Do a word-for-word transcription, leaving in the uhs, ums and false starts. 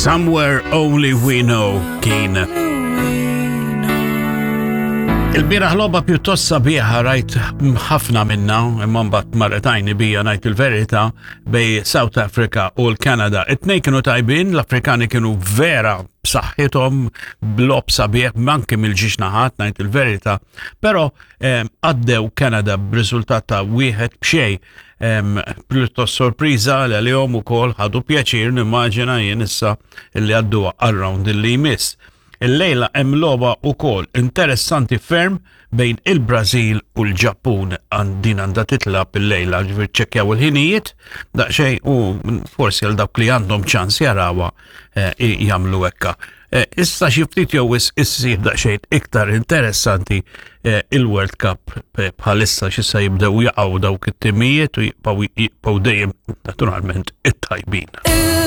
Somewhere Only We Know kien. Il-bieraħ logħba pjuttost sabiħa rajt ħafna minna, imma mbagħad marret għajni bija, ngħid il-verità, bejn South Africa u l-Kanada. It-tnejn kienu tajbin, l-Afrikani kienu vera b'saħħithom, b'logħob sabiħ, anke mill-żewġ naħat, ngħid il-verità, però għaddew Kanada b'riżultat ta' wieħed b'xejn. Pjuttost sorpriża li għalihom ukoll, ħadu pjaċir nimmaġina jien issa illi għaddu għar-round li jmiss. Il-lejla hemm logħba wkoll interessanti ferm bejn il-Brażil u l-Ġappun, din għandha titlagħab il-lejla, ġifieri ċekkjaw il-ħinijiet daqsxejn u forsi għal dawk li għandhom ċans jarawha eh, jagħmlu hekka. Eh, issa xi ftit jew issir daqsxejn iktar interessanti eh, il-World Cup bħalissa, x'issa jibdew jaqgħu dawk it-timijiet u jibqgħu dejjem naturalment it-tajbin.